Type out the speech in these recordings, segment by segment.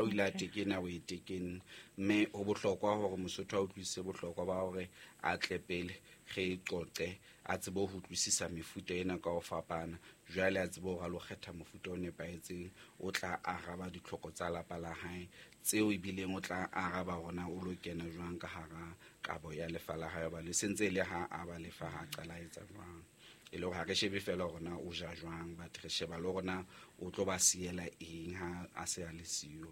Ha o ile a tekena, o e tekenne. Mme ho bohlokwa hore Mosotho a utlwisise bohlokwa ba hore a tle pele re e qoqe, a tsebe ho utlwisisa mefuta ena ka ho fapana. Jwale a tsebe hore a lo kgetha mofuta o nepahetseng o tla araba ditlhoko tsa lapa la hae, tseo ebileng o tla araba hore na o lo kena jwang ka hara kabo ya lefa la hae, hobane e sentse e le ha a ba lefa ha qala a etsa jwang. E le hore ha re shebe fela hore na o ja jwang, but re sheba le hore na o tlo ba siela eng ha a se a le siyo.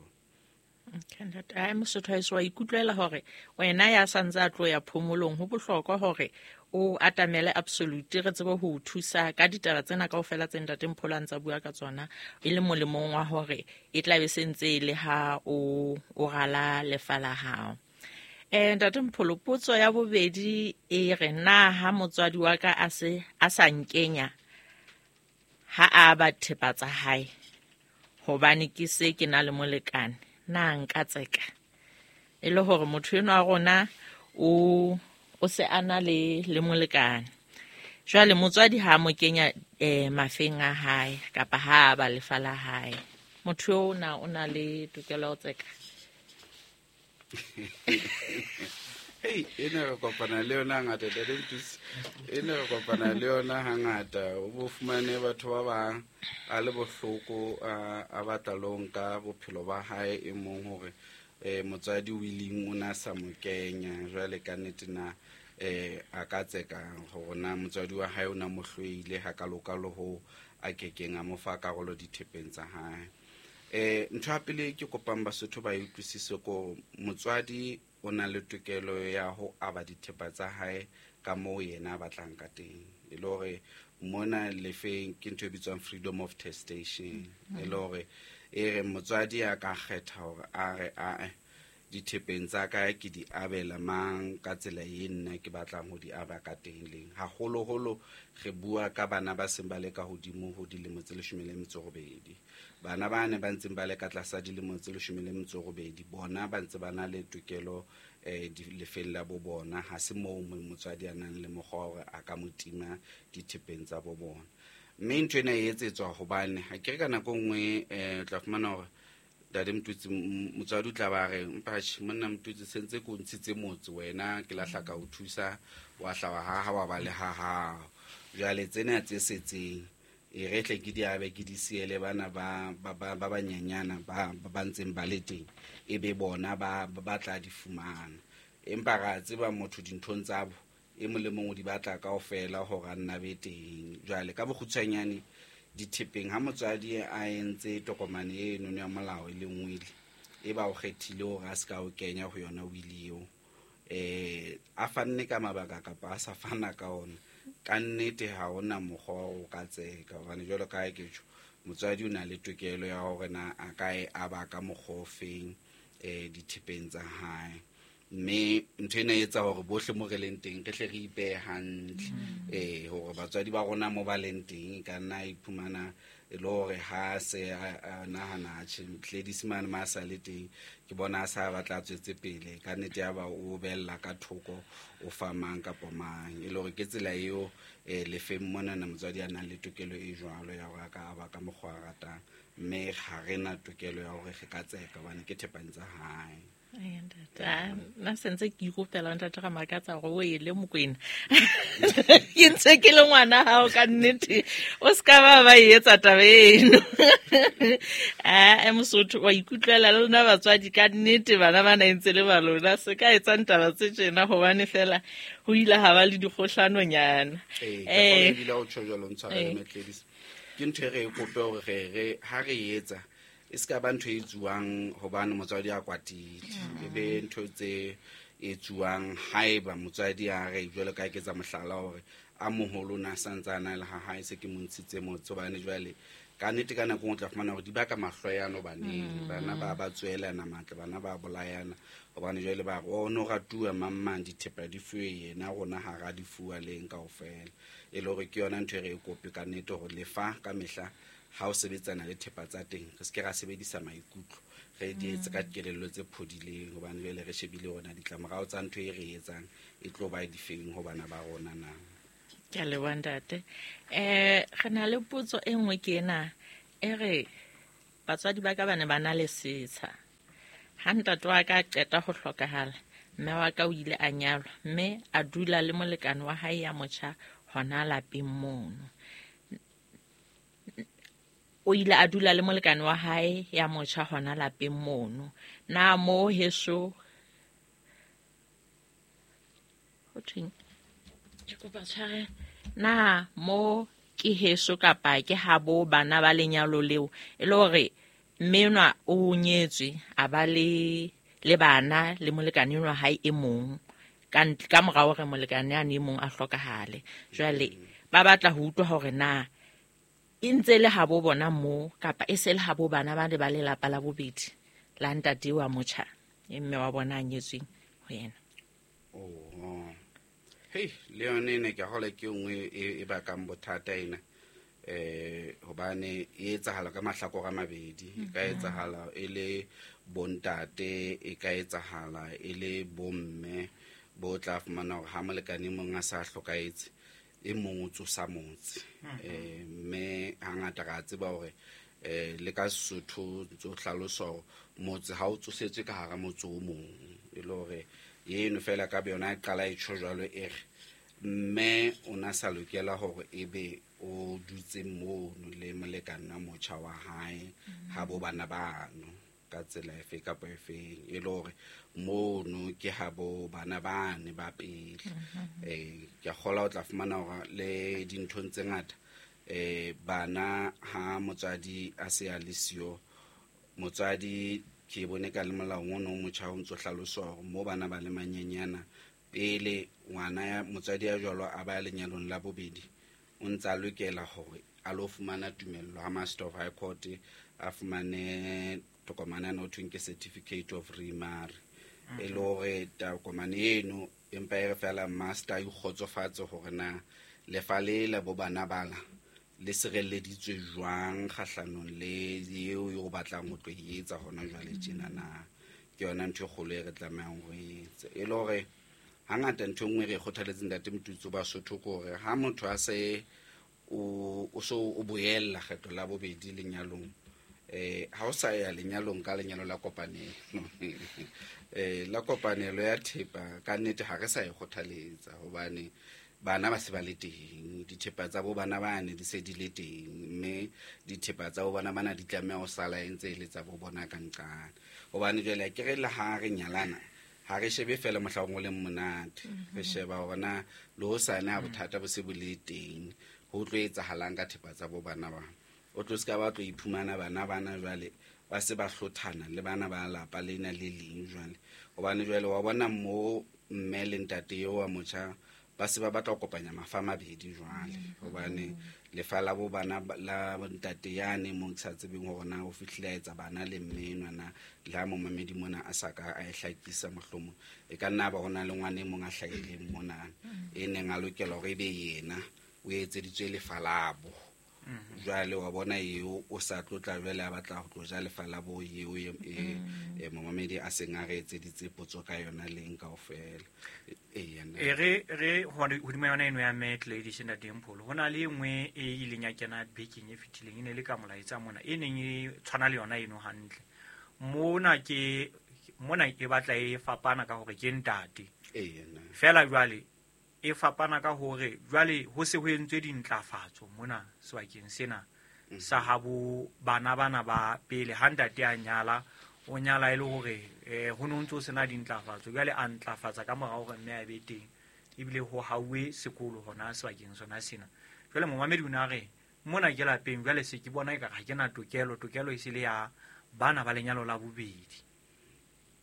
Okay, ntate. Ai, Mosotho haeso, wa ikutlwela hore wena ya santse a tlo ya phomolong, ho bohlokwa hore o atamele Absolute, re tsebe ho o thusa ka ditaba tsena kaofela tse ntate Mpholo a ntsa bua ka tsona, e le molemong wa hore e tla be se ntse e le ha o rala lefa la hao. Ntate Mpholo, potso ya bobedi e re, na ha motswadi wa ka a se a sa nkenya ha a ba thepa tsa hae hobane ke se ke na le molekane, na nka tseka? E le hore motho enwa wa rona o se a na le molekane. Jwale motswadi ha mo kenya mafeng a hae kapa ha a ba lefa la hae, motho eo na o na le tokelo ya ho tseka? Hey, ena re kopana le yona hangata, Ntate Mthuse. Ena re kopana le yona hangata. O bo fumane batho ba bang a le bohloko, a batla le ho nka bophelo ba hae e mong hore motswadi o ileng o na sa mo kenya. Jwale ka nnete na a ka tseka hore na motswadi wa hae o na mo hloile hakalokalo ho a kekeng a mo fa karolo dithepeng tsa hae. Ntho ya pele ke kopang Basotho ba e utlwisise ko motswadi o na le tokelo ya ho aba dithepa tsa hae ka moo yena a batlang ka teng. E le hore mona lefeng ke ntho e bitswang freedom of testation. E le hore e re motswadi a ka kgetha hore a re ae dithepeng tsa ka ke di abela mang ka tsela e nna ke batlang ho di aba ka teng leng. Haholoholo re bua ka bana ba seng ba le ka hodimo ho dilemo tse 18. Bana ba ne ba ntseng ba le ka tlasa dilemo tse 18, bona ba ntse ba na le tokelo lefeng la bo bona. Ha se moo motswadi a nang le mokgwa hore a ka mo tima dithepeng tsa bo bona. Mme ntho ena e etsetswa hobane ha ke re ka nako nngwe o tla fumana hore Ntate Mthuse, motswadi o tla ba re, mpatjhe monna Mthuse, sentse ke o ntshitse motse wena, ke lahla ka o thusa, wa hla wa haha, wa ba le ha hao. Jwale tsena tse setseng e re tle ke di abe, ke di siele bana ba banyenyana ba ntseng ba le teng, e be bona ba tla di fumana. Empa ra tseba motho dinthong tsa bo e mong le mong o di batla kaofela hore a nna be teng. Jwale ka bokgutshwanyane dithepeng ha motswadi a entse tokomane eno ya molao e leng will, e ba o kgethile hore a se ka o kenya ho yona will eo, a fanne ka mabaka kapa a sa fana ka ona, ka nnete ha hona mokgwa o ka tseka. Hobane jwalo ka ha ke tjho, motswadi o na le tokelo ya hore na a ka e aba ka mokgwa o feng dithepeng tsa hae. Mme ntho ena e etsa hore bohle mo re leng teng re hle re ipehe hantle, hore batswadi ba rona mo ba leng teng ka nna iphumana e le hore ha se a nahana tjhe Gladys mane ma sa le teng, ke bona a sa batla a tswetse pele, ka nnete ya ba o bella ka thoko o fa mang kapa mang. E le hore ke tsela eo lefeng monana motswadi a nang le tokelo e jwalo ya hore a ka aba ka mokgwa a ratang, mme ha re na tokelo ya hore re ka tseka hobane ke thepeng tsa hae. Nna sentse ke ikopela ntate ga Makatsa gore o ele Mokwena. Ke ntse ke le ngwana hao ka nnete, o se ka ba e etsa taba eno. Mosotho wa ikutlwela le lona batswadi ka nnete, bana ba na ntse le ba lona, se ka etsang taba tse tjena hobane fela ho ile ha ba le dikgohlanonyana. Ebile o tjho jwalo, ntshwarele Gladys. Ke ntho e re e kope hore re ha re etsa e se ka ba ntho e etsuwang hobane motswadi a kwatile, e be ntho tse etsuwang haeba motswadi a re jwalo ka ke etsa mohlala hore a moholo na santse a na le ha hae, se ke mo ntshitse motse hobane jwale ka nnete ka nako e nngwe o tla fumana hore di baka mahloyano baneng, bana ba tswelana matla, bana ba bolayana hobane jwale ba re o no ratuwa mang mang, dithepa di fuwe yena, rona ha ra di fuwa leng kaofela. E le hore ke yona ntho e re e kope ka nnete hore lefa ka mehla ha o sebetsana le thepa tsa teng, re se ke ra sebedisa maikutlo, re di etse ka kelello tse phodileng, hobane jwale re shebile hore na ditlamorao tsa ntho e re etsang e tlo ba difeng ho bana ba rona na. Ke a leboha ntate. Re na le potso e nngwe ke ena e re batswadi ba ka ba ne ba na le setsha, Ha ntate wa ka a qeta ho hlokahala, mme wa ka o ile a nyalwa mme a dula le molekane wa hae ya motjha hona lapeng mono. O ile a dula le molekane wa hae ya motjha hona lapeng mono. Na mo heso ho thweng? Ke kopa tshwarelo. Na mo ke heso kapa ke habo bana ba lenyalo leo e le hore mme enwa o nyetswe a ba le bana le molekane enwa hae e mong ka mora hore molekane ane e mong a hlokahale. Jwale ba batla ho utlwa hore na e ntse le habo bona mo kapa e se le habo bana ba le ba lelapa la bobedi la ntate wa motjha e mme wa bona a nyetsweng ho yena. Oh. Hey, le yone ene ke hola ke nngwe e bakang bothata ena. Hobane e etsahala ka mahlakore a mabedi. E ka etsahala e le bontate, e ka etsahala e le bomme bo tla fumana hore ha molekane e mong a sa hlokahetse e mong o tsosa motse. Mme hangata re a tseba hore le ka Sesotho ntso hlalosa hore motse ha o tsosetswe ka hara motse o mong, e le hore eno fela ka yona e qala e tjho jwalo e re mme o na sa lokela hore ebe o dutse mono le molekane wa motjha wa hae ha bo bana bano ka tsela efe kapa efeng, e le hore mono ke ha bo bana bane ba pele. Ke a kgolwa o tla fumana hore le dinthong tse ngata bana ha motswadi a se a le siyo, motswadi ke bone ka le molaong ono o motjha o ntso hlalosa hore mo bana ba le manyenyana pele ngwana ya motswadi ya jwalo a ba lenyalong la bobedi o ntse a lokela hore a lo fumana tumello ha Master of High Court, a fumane tokomane ena ho thweng ke certificate of remarry, e le hore tokomane eno empa e re fela master a ikgotsofatse hore na lefa le la bo bana bala le sireleditswe jwang kgahlanong le eo yo batlang ho tlo e etsa hona jwale tjena na. Ke yona ntho e kgolo e re tlamehang ho e etsa. E le hore hangata ntho e nngwe re kgothaletseng ntate Motutsi Basotho ke hore ha motho a se o so o boella kgetho la bobedi lenyalong, ha o sa ya lenyalong ka lenyalo la kopanelo la kopanelo ya thepa ka nnete ha re sa e kgothaletsa, hobane bana ba se ba le teng, dithepa tsa bo bana bane di se di le teng, mme dithepa tsa bo bana bana di tlameha ho sala e ntse e le tsa bo bona ka nqane. Hobane jwale ke re le ha re nyalana ha re shebe fela mohlaong o leng monate, re sheba hore na le hosane ha bothata bo se bo le teng ho tlo etsahalang ka thepa tsa bo bana ba. O tlo ska ba tlo iphumana bana bana jwale ba se ba hlothana le bana ba lapa lena le leng jwale, hobane jwale wa bona mo mme le ntate eo wa motjha ba se ba batla ho kopanya mafa a mabedi jwale, hobane lefa la bo bana la ntate yane mo ke sa tsebeng hore na o fihlile a etsa bana le mme enwa na, le ha momamedi mona a sa ka a e hlakisa mohlomong e ka nna ba ho na le ngwana e mong a hlahileng mona e neng a lokela hore ebe yena o etseditswe lefa labo. Jwale wa bona eo o sa tlotla jwale a batla ho tlo ja lefa la bo eo e momamedi a seng a re etseditse potso ka yona leng kaofela. E re hodima yona eno ya Met Ladies and Dimple ho na le nngwe e ileng ya kena bekeng e fetileng, e ne le ka molaetsa mona e neng e tshwana le yona eno hantle. Mona ke mona e batla e fapana ka hore ke ntate. Fela jwale e fapana ka hore jwale ho se ho entswe dintlafatso mona sebakeng sena sa habo bana bana ba pele ha ntate a nyala o nyala e le hore ho no ntso sena dintlafatso, jwale a ntlafatsa ka mora hore mme a be teng ebile ho hauwe sekolo hona sebakeng sona sena. Jwale momamedi o na re mona ke lapeng jwale se ke bona ekare ha ke na tokelo e se le ya bana ba lenyalo la bobedi.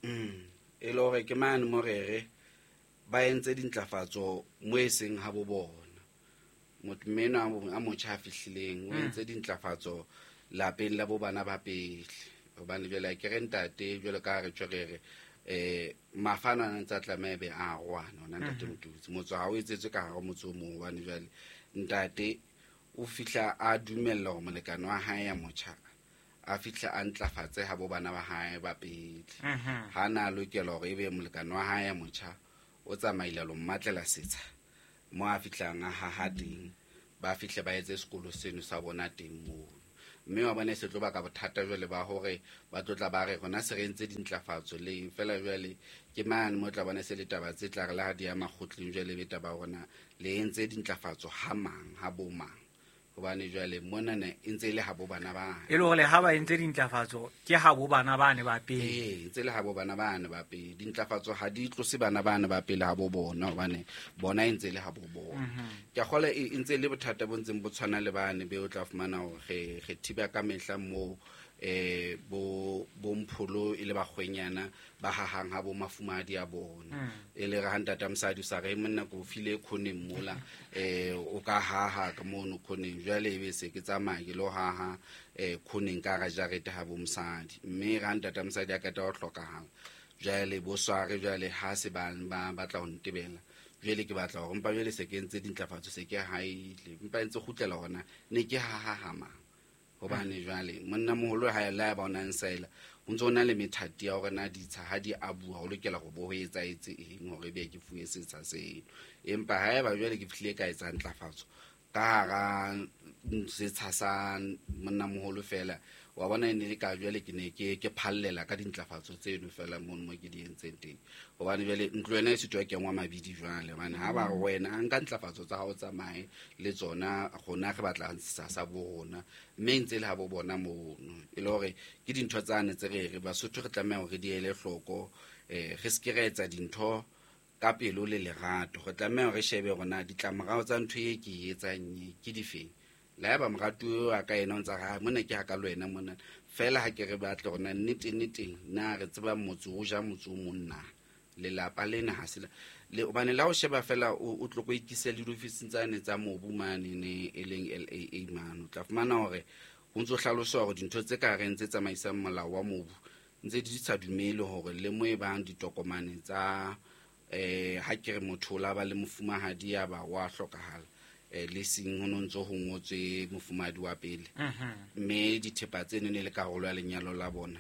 E le hore ke mane morere ba entse dintlafatso mo e seng ha bo bona. Motho meno a motjha a fihlileng o entse dintlafatso lapeng la bo bana ba pele, hobane jwale ke re ntate jwale ka re tjwerere mafana a ntse a tlameha be a rwana hona ntate Motutsi motso ha o etsetswe ka hara motse o mong, hobane jwale ntate o fihla a dumella hore molekane wa hae ya motjha a fihla a ntlafatse ha bo bana ba hae ba pele. Ha na lokela hore ebe molekane wa hae ya motjha o tsamaile lo mmatlela setsha mo a fihlang a haha teng, ba fihle ba etse sekolo seno sa bona teng moo. Mme wa bona e se tlo baka bothata jwale ba hore ba tlo tla ba re rona se re entse dintlafatso le eng. Feela jwale ke mane mo tla bona se le taba tse tla re le ha di ya makgotleng jwale be taba ya rona le entse dintlafatso ha mang, ha bo mang. Hobane jwale monana e ntse e le ha bo bana bane. E le hore ha ba entse dintlafatso ke ha bo bana bane ba pele. Ee, ntse le ha bo bana bane ba pele. Dintlafatso ha di tlose bana bane ba pele ha bo bona, hobane bona e ntse le ha bo bona. Ke a kgolwa e ntse e le bothata bo ntseng bo tshwana le bane be o tla fumana hore re thiba ka mehla moo, bo mpholo e le bakgwenyana ba hahang ha bo mafumahadi a bona. E le re ha ntata mosadi o sa re monna ko file khoneng mola, o ka haha ka mono khoneng. Jwale ebe se ke tsamaya ke lo haha, khoneng ka hara jarete ha bo mosadi. Mme ha ntata mosadi a qeta ho hlokahala, jwale bo sware jwale ha se ba batla ho ntebela. Jwale ke batla hore mpa jwale se ke entse dintlafatso, se ke haile. Mpa ntse kgutlela hona, ne ke haha ha mang. Hobane jwale monna moholo ha la ba ona nsaela, ho ntso na le methati ya hore na ditsha ha di abuwa ho lokela hore bo ho etsahetse eng hore ebe ke fuwe setsha seno. Empa haeba jwale ke fihlile ka etsa ntlafatso ka hara setsha sa monna moholo fela, wa bona e ne le ka jwale ke ne ke phallela ka dintlafatso tseno fela mono mo ke di entseng teng. Hobane jwale ntlo ena e sitwa kengwa mabidi jwale, hobane ha ba re wena a nka ntlafatso tsa hao tsamaye le tsona, rona re batla setsha sa bo rona, mme ntse le ha bo bona mono. E le hore ke dintho tsane tse re re Basotho re tlameha hore re di ele hloko, re se ke ra etsa dintho ka pelo le lerato. Re tlameha hore re shebe hore na ditlamorao tsa ntho e ke e etsang e ke difeng. Le haeba moratuwa wa ka ena o ntsa re, ha, mona ke ha ka le wena mona. Feela ha ke re batle hore na nnete, nnete, na re tseba motse o ja motse o mong na? Lelapa lena ha se le, hobane la ho sheba feela o tlo ko ikise le diofising tsane tsa mobu mane ne e leng LAA mane. O tla fumana hore ho ntso hlaloswa hore dintho tse ka reng tse tsamaisang molao wa mobu ntse di sa dumele hore le mo e bang ditokomane tsa, ha ke re motho o la ba le mofumahadi ya ba wa hlokahala, le seng ho no ntso ho ngotswe mofumahadi wa pele. Mme dithepa tseno ne le karolo ya lenyalo la bona.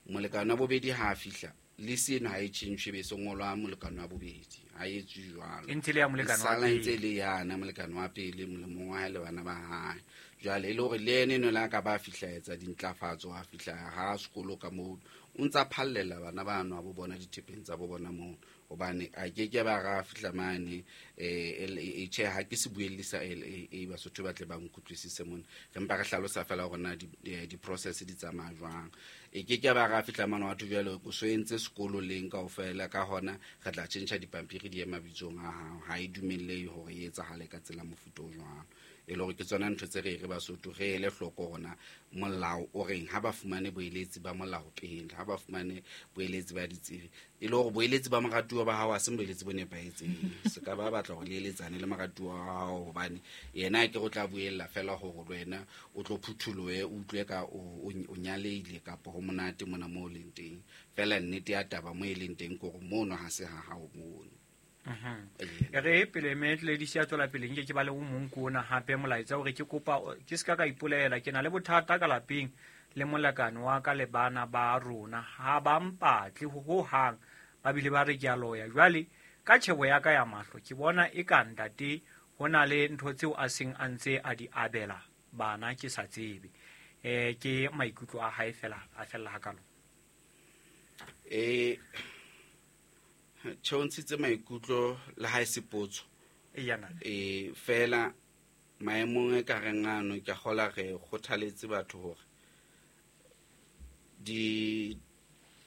Molekane wa bobedi ha a fihla, le seno ha e tjhentjhwe be se ngolwa molekane wa bobedi, ha e etswe jwalo. E ntse le ya molekane wa Sala ntse pele. le yana molekane wa pele, molemong wa hae le bana ba hae. Jwale e le hore le ene eno le ha ka ba fihla etsa dintlafatso, a fihla ha sekolo ka moo, o ntsa phallela bana bano ha bo bona dithepeng tsa bo bona moo. Hobane a ke ke ba ra fihla mane, LAA, tjhe, ha ke se buelle sa LAA, Basotho ba tle ba nkutlwisise mona. Re mpa re hlalosa fela hore na di-process di tsamaya jwang. E ke ke ba ra fihla mane wa thwe jwale o so entse sekolo leng kaofela, ka hona re tla tjhentjha dipampiri di ye mabitsong a hao. Ha e dumellehe hore e etsahale ka tsela mofuta o jwalo. E le hore ke tsona ntho tse re re Basotho re ele hloko hore na molao o reng, ha ba fumane boeletsi ba molao pele, ha ba fumane boeletsi ba ditsebi. E le hore boeletsi ba moratuwa ba hao ha se boeletsi bo nepahetseng. Se ka ba batla hore le eletsane le moratuwa wa hao, hobane yena ke o tla buella fela hore le wena o tlo phutholohe, o utlwe ka o nyalehile kapa ho monate mona moo o leng teng. Feela nnete ya taba moo e leng teng ke hore mono ha se ha hao mono. E re pele mme Lady Sia tswela pele, nke ke ba le o mong ko ona hape molaetsa hore ke kopa ke ska ka ipolela, ke na le bothata ka lapeng le molekane wa ka le bana ba rona, ha ba mpatle ho hang, ba bile ba re ke a loya. Jwale ka tjhebo ya ka ya mahlo ke bona e ka ntate ho na le ntho tseo a seng a ntse a di abela bana, ke sa tsebe. Ke maikutlo a hae fela a fella hakalo. Tjhe, o ntshitse maikutlo le ha e se potso. Eya, nna. Fela maemong e ka reng ano ke a kgola re kgothaletse batho hore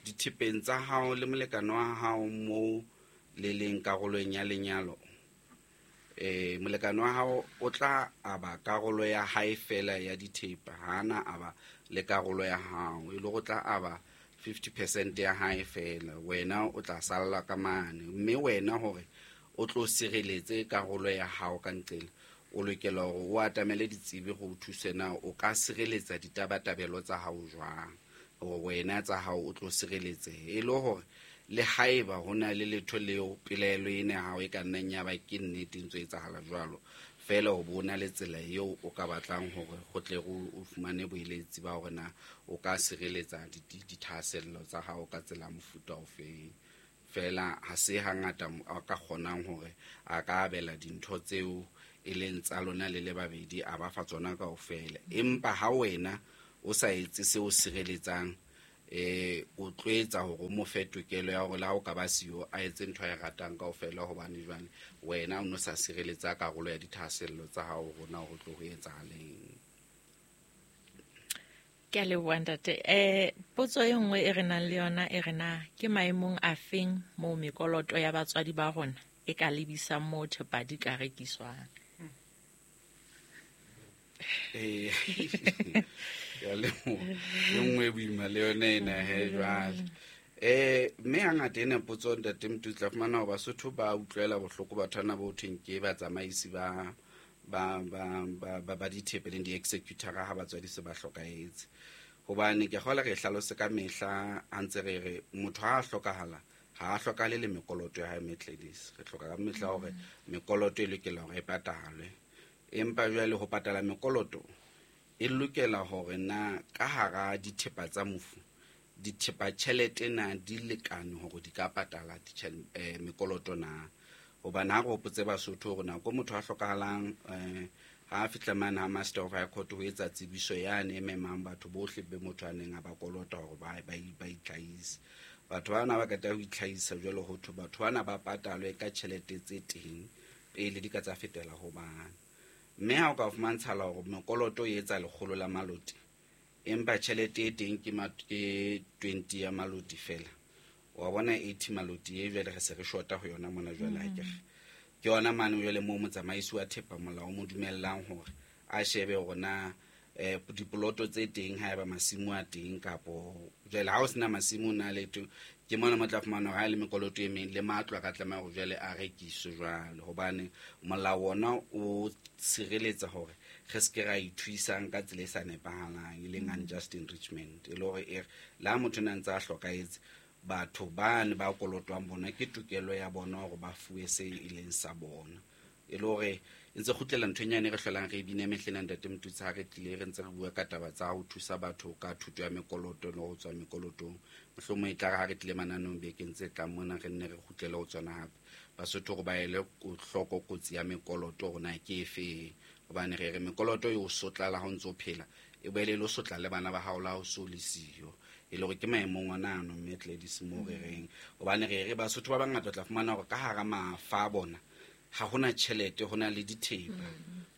dithepeng tsa hao le molekane wa hao moo le leng karolong ya lenyalo, molekane wa hao o tla aba karolo ya hae fela ya dithepa, ha ana aba le karolo ya hao, e le hore o tla aba 50% ya hae fela, wena o tla salla ka mane. Mme wena hore o tlo sireletse karolo ya hao ka nqela, o lokela hore o atamele ditsebi go o thuse na o ka sireletsa ditabatabelo tsa hao jwang, hore wena tsa hao o tlo sireletsehe. E le hore le haeba ho na le letho leo pelaelo ena ya hao e ka nnang ya ba ke nnete e ntse e etsahala jwalo, fela o bona le tsela eo o ka batlang hore go tle o fumane boeletsi ba hore na o ka sireletsa dithahasello tsa hao ka tsela ya mofuta ofeng. Fela ha se hangata a ka kgonang hore a ka abela dintho tseo e leng tsa lona le le babedi, a ba fa tsona kaofela. Empa ha wena o sa etse seo sireletsang o tlo etsa hore o mo fe tokelo ya hore le ha o ka ba siyo a etse ntho a e ratang kaofela, hobane jwale wena o no sa sireletsa karolo ya dithahasello tsa hao hore na ho tlo ho etsahaleng. Ke a leboha ntate. Potso e nngwe e re nang le yona e re na ke maemong a feng moo mekoloto ya batswadi ba rona e ka lebisang moo thepa di ka rekiswang? Ya le nngwe boima le yona ena he jwale. Mme hangata ena potso ntate Mtutsi tla fumana hore Basotho ba utlwela bohloko batho bana bo thweng ke batsamaisi ba ba ba ba ba dithepe leng di-executor ha batswadi se ba hlokahetse. Hobane ke kgola re hlalose ka mehla a ntse re re motho ha a hlokahala ha a hlokahale le mekoloto ya hae Metledis. Re hloka ka mehla hore mekoloto e lokela hore e patalwe. Empa jwale ho patala mekoloto e lokela hore na ka hara dithepa tsa mofu dithepa tjhelete na di lekane hore di ka patala mekoloto na. Hobane ha re hopotse Basotho hore nako motho a hlokahalang ha a fihla mane ha Master of High Court ho etsa tsebiso yane e memang batho bohle be motho a neng a ba kolota hore ba itlhahise. Batho bana ba qeta ho itlhahisa jwale ho thwe batho bana ba patalwe ka tjhelete tse teng pele di ka tsa fetela ho bana. Mme ha o ka fumantshala hore mekoloto e etsa 100 la maloti, empa tjhelete e teng ke 20 ya maloti fela. Wa bona 80 maloti e jwale re se re shota ho yona mona jwale akere. Ke yona mane jwale moo motsamaisi wa thepa molao o mo dumellang hore a shebe hore na dipoloto tse teng haeba masimo a teng kapo jwale ha o sena masimo na le teng, ke mona mo tla fumana hore ha e le mekoloto e meng le matlo a ka tlameha hore jwale a rekiswe jwale, hobane molao ona o sireletsa hore re se ke ra ithuisang ka tsela e sa nepahalang, e leng unjust enrichment. E le hore e re le ha motho na ntse a hlokahetse, batho bane ba kolotwang bona ke tokelo ya bona hore ba fuwe se e leng sa bona. E le hore e ntse kgutlela nthong yane re hlolang re e bine mehleng ya ntate Mtutsi ha re tlile re ntse re bua ka taba tsa ho thusa batho ka thuto ya mekoloto le ho tswa mekolotong. Mohlomong e tla re ha re tlile mananong bekeng tse tlang mona re nne re kgutlele ho tsona hape. Basotho hore ba ele hloko kotsi ya mekoloto hore na ke efe, hobane re re mekoloto e o sotla la ha o ntso phela, e boele e lo sotla le bana ba hao la ha o so le siyo. E le hore ke maemong ona ano mme Gladys moo re reng, hobane re re Basotho ba bangata o tla fumana hore ka hara mafa a bona ha hona tjhelete, hona le dithepa.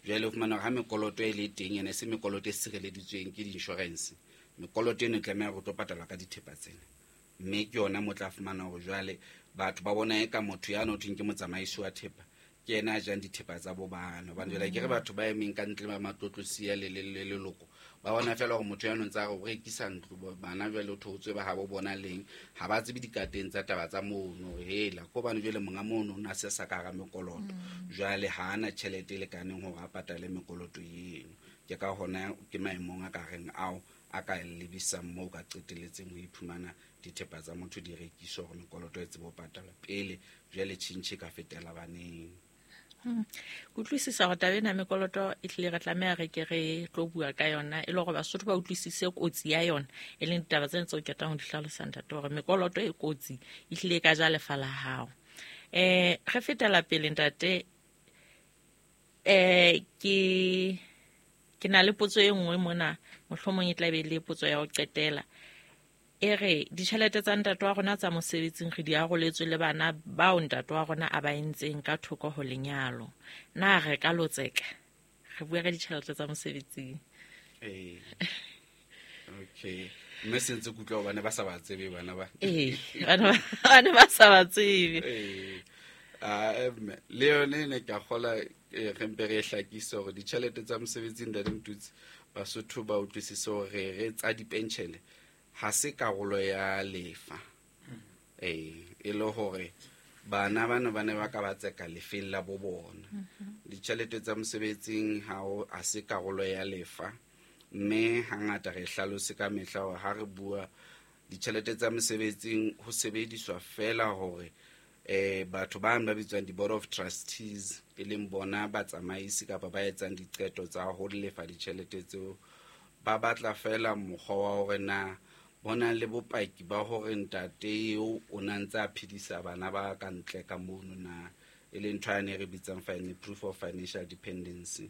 Jwale o fumana hore ha mekoloto e le teng, ene se mekoloto e sireleditsweng ke di-insurance, mekoloto eno e tlameha hore o tlo patalwa ka dithepa tsena. Mme ke yona mo tla fumana hore jwale batho ba bona eka motho ya no thweng ke motsamaisi wa thepa ke yena a jang dithepa tsa bo bana. Hobane jwale ke re batho ba emeng ka ntle ba matlotlosia le leloko ba bona fela hore motho ya no ntse a re o rekisa ntlo, bana jwale o theotswe ba habo bona leng, ha ba tsebe dikateng tsa taba tsa mono hore hela ko hobane jwale monga mono o na se sa ka hara mekoloto, jwale ha ana tjhelete e lekaneng hore a patale mekoloto eno. Ke ka hona ke maemong a ka reng ao a ka lebisang moo ka qetelletseng ho iphumana dithepa tsa motho di rekiswa hore mekoloto e tsebe ho patalwa pele jwale tjhentjhe e ka fetela baneng. Kutlwisisa hore taba ena mekoloto e hlile re tlameha re ke re tlo bua ka yona, e le hore Basotho ba utlwisise kotsi ya yona, e leng ditaba tsena tseo ke ratang ho di hlalosa ntate, hore mekoloto e kotsi e hlile e ka ja lefa la hao. Re fetela pele ntate, ke na le potso e nngwe mona, mohlomong e tla be le potso ya ho qetela. E re ditjhelete tsa ntate wa rona tsa mosebetsing re di aroletswe le bana bao ntate wa rona a ba entseng ka thoko ho lenyalo. Na re ka lotseka? Re bua ka ditjhelete tsa mosebetsing. Okay. Mme se ntse ke utlwa hobane ba sa ba tsebe bana ba. Bana ba sa ba tsebe. Le yone ne ke a kgola, re mpe re hlakise hore ditjhelete tsa mosebetsing ntate Mtutsi, Basotho ba utlwisise hore re tsa dipenshene ha se karolo ya lefa. E le hore bana bana ba ne ba ka ba tseka lefeng la bo bona. Ditjhelete tsa mosebetsing ha o a se karolo ya lefa, mme hangata re hlalose ka mehla hore ha re bua ditjhelete tsa mosebetsing ho sebediswa fela hore batho ba ba bitswang di-board of trustees, e leng bona batsamaisi kapa ba etsang diqeto tsa ho lefa ditjhelete tseo, ba batla fela mokgwa wa hore na bona le bopaki ba hore ntate eo o na ntse a phedisa bana ba ka ntle ka mono na. E leng ntho yane e re bitsang proof of financial dependency.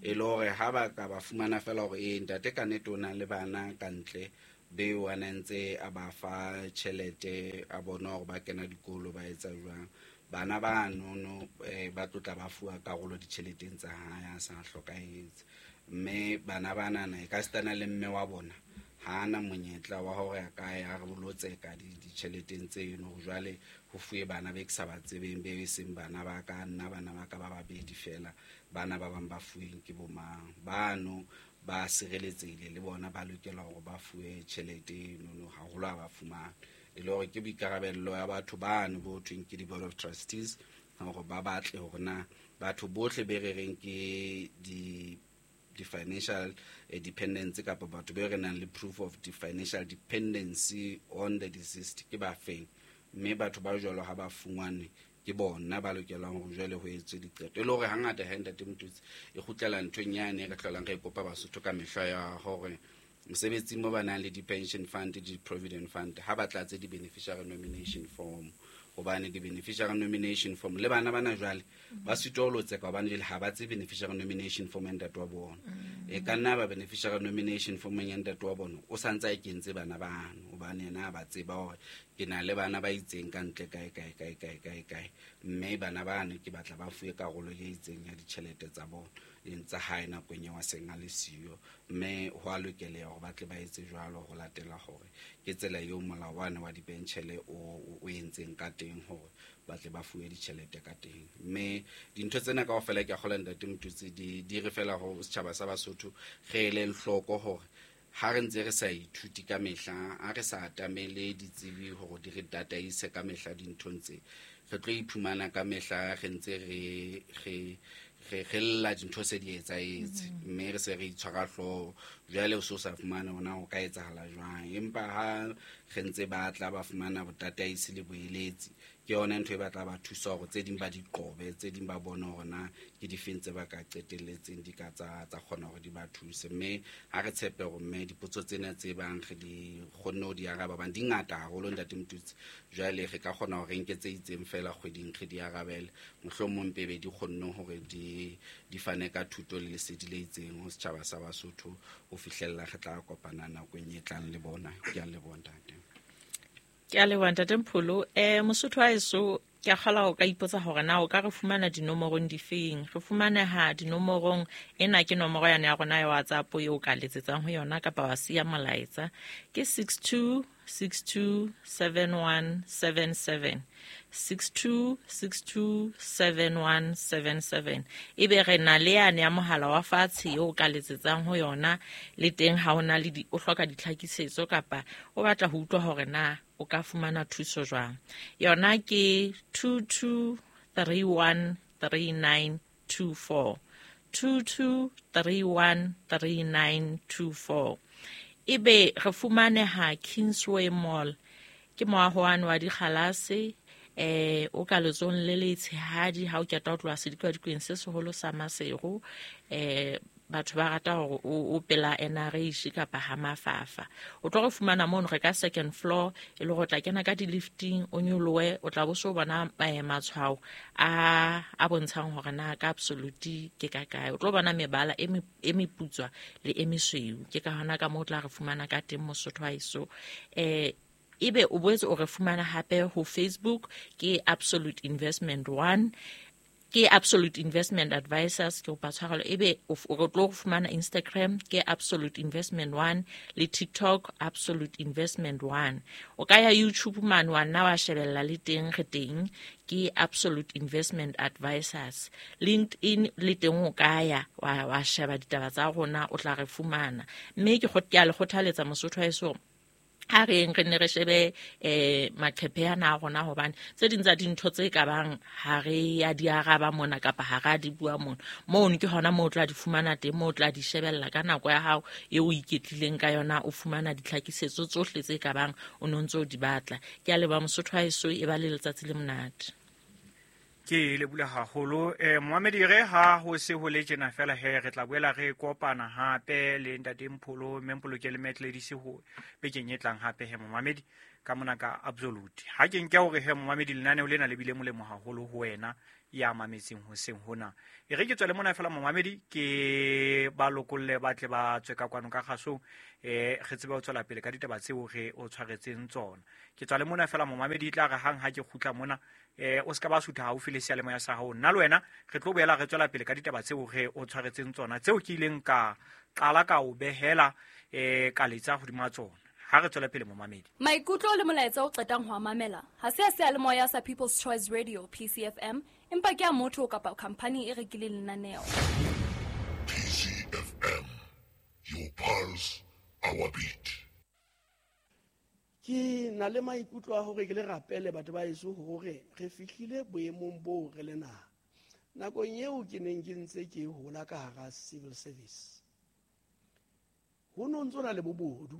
E le hore ha ba ka ba fumana fela hore ee ntate ka nnete o na le bana ka ntle beo a ne ntse a ba fa tjhelete, a bona hore ba kena dikolo ba etsa jwang, bana ba nono ba tlotla ba fuwa karolo ditjheleteng tsa hae a sa hlokahetse. Mme bana banana e ka sitana le mme wa bona ha ana monyetla wa hore a ka ya re bolotseka ditjheleteng tseno, hore jwale ho fuwe bana be ke sa ba tsebeng, be e seng bana ba ka, nna bana ba ka ba babedi fela, bana ba bang ba fuweng ke bo mang. Bano ba sireletsehile le bona ba lokela hore ba fuwe tjhelete enono haholo ha ba fumana. E le hore ke boikarabello ya batho bano bo thweng ke di-board of trustees hore ba batle hore na batho bohle be re reng ke di-financial dependency kapa batho be re nang le proof of the financial dependency on the deceased ke ba feng, mme batho ba jwalo ha ba fumane ke bona ba lokelang hore jwale ho etswe diqeto. E le hore hangata ha ntate Motutsi e kgutlela nthong yane re hlolang re kopa Basotho ka mehla ya hore mosebetsing mo ba nang le di-pension fund, di-provident fund, ha ba tlatse di-beneficiary nomination form, hobane di-beneficiary nomination form le bana bana jwale ba sitwa ho lotseka hobane jwale ha ba tsebe beneficiary nomination form ya ntate wa bona. E ka nna ba beneficiary nomination form ya ntate wa bona o sa ntse a e kentse bana bano, hobane yena a ba tseba hore ke na le bana ba itseng ka ntle kae kae kae kae kae kae, mme bana bano ke batla ba fuwe karolo e itseng ya ditjhelete tsa bona leng tsa hae nakong eo a seng a le siyo. Mme ho a lokeleha hore ba tle ba etse jwalo ho latela hore ke tsela eo molao wane wa dipentjhele o entseng ka teng hore ba tle ba fuwe ditjhelete ka teng. Mme dintho tsena kaofela ke a kgolwa ntate Motutsi di re fela ho setjhaba sa Basotho re ele hloko hore ha re ntse re sa ithuti ka mehla, ha re sa atamele ditsebi hore di re tataise ka mehla dinthong tse, re tlo iphumana ka mehla re ntse re lla dintho se di etsahetse, mme re se re itshwara hlooho. Jwale o so sa fumane hona ho ka etsahala jwang, empa ha re ntse ba tla ba fumana botataisi le boeletsi, ke yona ntho e ba tla ba thusa hore tse ding ba di qobe, tse ding ba bone hore na ke difeng tse ba ka qetelletseng di ka tsa kgona hore di ba thuse. Mme ha re tshepe hore mme dipotso tsena tse bang re di kgonne ho di araba, hobane di ngata haholo ntate Motutsi, jwale re ka kgona hore re nke tse itseng fela kgweding re di arabele, mohlomong pebe di kgonne hore di fane ka thuto le lesedi le itseng ho setjhaba sa Basotho ho fihlella re tla kopana nakong e tlang le bona. Ke a leboha ntate. Ke a leboha ntate Mpholo. Mosotho wa heso, ke a kgolwa o ka ipotsa hore na o ka re fumana dinomorong difeng. Re fumaneha dinomorong ena, ke nomoro yane ya rona ya WhatsApp eo o ka letsetsang ho yona kapa wa siya molaetsa, ke 62 62 7177, 62 62 7177. Ebe re na le yane ya mohala wa fatshe eo o ka letsetsang ho yona le teng ha o na le o hloka ditlhakisetso kapa o batla ho utlwa hore na o ka fumana thuso jwang. Yona ke 22 31 3924, 22 31 3924. Ebe re fumaneha Kingsway Mall, ke moaho wane wa dikgalase, o ka letsohong le letshehadi ha o keta ho tloha sedikadikweng se seholo sa Maseru. Batho ba rata hore o pela NRH kapa ha Mafafa. O tlo re fumana mono re ka second floor, e le hore o tla kena ka di-lifting, o nyolohe, o tla bo so bona matshwao a bontshang hore na ka Absolute ke ka kae. O tlo bona mebala e meputswa le e mesweu. Ke ka hona ka moo o tla re fumana ka teng Mosotho wa heso. Ebe o boetse o re fumana hape ho Facebook ke Absolute Investment 1, ke Absolute Investment Advisors, ke kopa tshwarelo. Ebe o tlo fumana Instagram ke Absolute Investment 1 le TikTok Absolute Investment 1. O ka ya YouTube mane wa nna wa shebella le teng, re teng ke Absolute Investment Advisors. LinkedIn le teng o ka ya wa sheba ditaba tsa rona, o tla re fumana. Mme ke a le kgothaletsa Mosotho wa heso, ha re eng re ne re shebe maqephe ana a rona, hobane tse ding tsa dintho tse ka bang ha re ya di araba mona kapa ha ra di bua mona, mono ke hona moo o tla di fumana teng, moo o tla di shebella ka nako ya hao eo o iketlileng ka yona, o fumana ditlhakisetso tsohle tse ka bang o no ntse o di batla. Ke a leboha Mosotho wa heso, e ba le letsatsi le monate. Ke lebula haholo. Moamedi, re ha ho se ho le tjena fela he, re tla boela re kopana hape le ntate Mpholo, mme Mpholo ke le Metledi ho bekeng e tlang hape he momamedi. Ka mona ka Absolute. Ha ke nke hore he momamedi lenaneo lena le bile molemo haholo ho wena ya mametseng hoseng hona. E re ke tswele mona fela momamedi ke ba lokolle ba tle ba tswe ka kwano ka kgasong, re tsebe ho tswela pele ka ditaba tseo re o tshwaretseng tsona. Ke tswale mona fela momamedi, e tla re hang ha ke kgutla mona, o ska ba sutha haufi le seyalemoya sa hao. Nna le wena re tlo boela re tswela pele ka ditaba tseo re o tshwaretseng tsona, tseo ke ileng ka qala ka o behela, ka letsa hodima tsona. Ha re tswele pele momamedi. Maikutlo le molaetsa o qetang ho a mamela ha se a seyalemoya sa People's Choice Radio PCFM, empa ke a motho kapa khampani e rekileng lenaneo. PCFM, your pulse, our beat. Ke na le maikutlo a hore ke le rapele batho ba heso hore re fihlile boemong boo re le naha. Nakong eo ke neng ke ntse ke hola ka hara civil service, ho no ntso na le bobodu.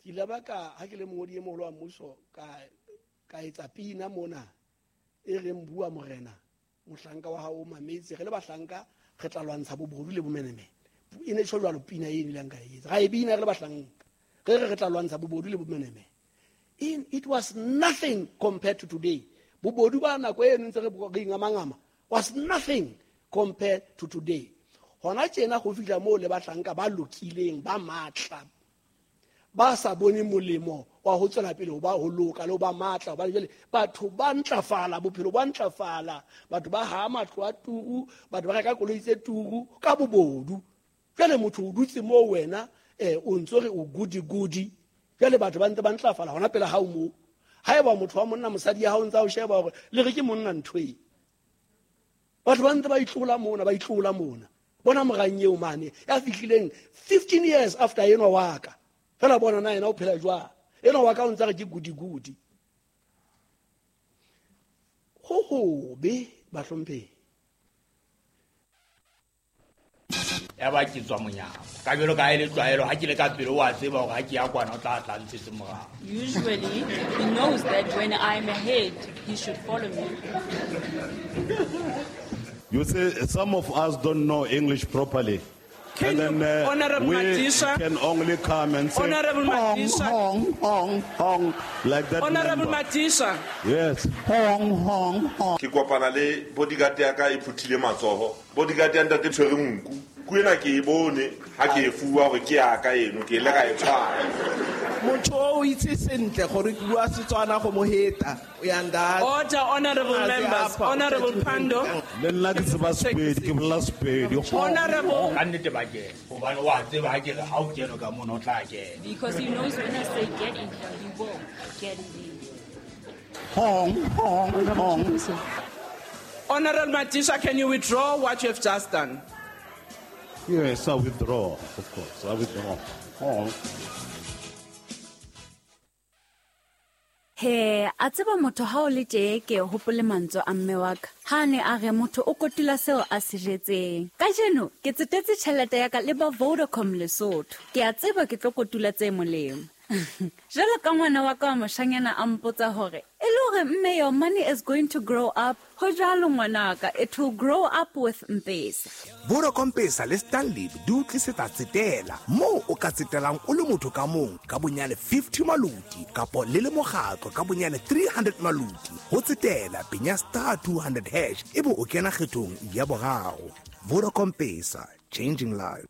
Ke ile ba ka ha ke le mongodi e moholo wa mmuso ka etsa pina mona e reng bua morena mohlanka wa hao o mametse, re le bahlanka re tla lwantsha bobodu le bomenemene. E ne tjho jwalo pina e nileng ka e etsa. Ra e bina re le bahlanka, re re re tla lwantsha bobodu le bomenemene. It was nothing compared to today. Bobodu ba nako eno ntse re ingamangama was nothing compared to today. Hona tjena ho fihla moo le bahlanka ba lokileng ba matla ba sa bone molemo wa ho tswela pele ho ba ho loka le ho ba matla, hobane jwale batho ba ntlafala, bophelo ba ntlafala, batho ba ha matlo a turu, batho ba reka koloi tse turu ka bobodu. Jwale motho o dutse moo wena, o ntso re o goody goody. Jwale batho ba ntse ba ntlafala hona pele hao moo. Haeba motho wa monna mosadi ya hao ntse a o sheba hore le re ke monna ntho e. Batho ba ntse ba itlola mona, ba itlola mona. Bona morang eo mane ya fihlileng 15 years after enwa wa ka. Fela bona na yena o phela jwang? Enwa wa ka o ntse re ke goody goody. Ho hobe bahlomphehi. Ya ba ke tswa monyako. Ka jwalo ka ha e le tlwaelo, ha ke le ka pele o a tseba hore ha ke ya kwana o tla tla ntshetse morao. Usually he knows that when I'm ahead, he should follow me. You see, some of us don't know English properly. Can And then, you, Honorable we Madisha, can only come and say, Honorable hong, Madisha. hong, hong, hong, like that. Honorable number. Madisha. Yes. Hong, hong, hong. Ke kopana le bodyguard ya ka e phuthile matsoho. Bodyguard ya ntate tshwere nku. Ku ena ke e bone ha ke e fuwa hore ke ya ka eno, ke ile ka e tshwara. Motho o itse sentle gore ke bua Setswana go mo heta. O ya nda. Order, honorable A se members. apa, o Honorable tla Pando. Le nna ke tseba Sepedi, ke bolela Sepedi. Honorable. Ka nnete ba kena. Hobane wa tseba ha ke re ha o kene ka mona o tla kena. Because he knows when I say get in here, he will get in there. Hong, hong, hong. Honorable Madisha, can you withdraw what you have just done? Yes, I withdraw, of course. I withdraw. Hong. He, a tseba motho ha o le tje ke hopole mantswe a mme wa ka. Ha ne a re motho o kotula seo a se jetseng. Kajeno ke tsetetse tjhelete ya ka le ba Vodacom Lesotho. Ke a tseba ke tlo kotula tse molemo. Jwalo ka ngwana wa ka wa moshanyana a mpotsa hore, e le hore mme your money is going to grow up. Ho jwalo ngwanaka, it will grow up with M-Pesa. Vodacom Pesa le Stanlib di o tlisetsa tsetela moo o ka tsetelang o le motho ka mong ka bonyane 50 maluti kapo le le mokgatlo ka bonyane 300 maluti. Ho tsetela penya star 200 hash ebe o kena kgethong ya boraro. Vodacom Pesa, changing lives.